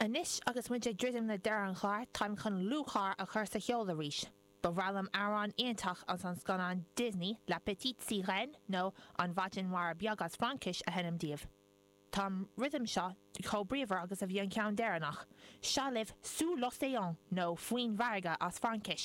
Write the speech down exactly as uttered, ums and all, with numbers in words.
Anois agus muid ag druidim le deireadh an chláir táim chun lúcháir a chur sa cheol arís. Ba bhreá liom amhrán iontach as an scannán Disney La Petite Sirène nó an Mhaighdean Mhara Bheag as Fraincis a sheinm daoibh. Tá an rithim seo chomh bríomhar agus a bhí an ceann deireanach. Seo libh Sous l'océan nó Faoin bhfarraige as Fraincis.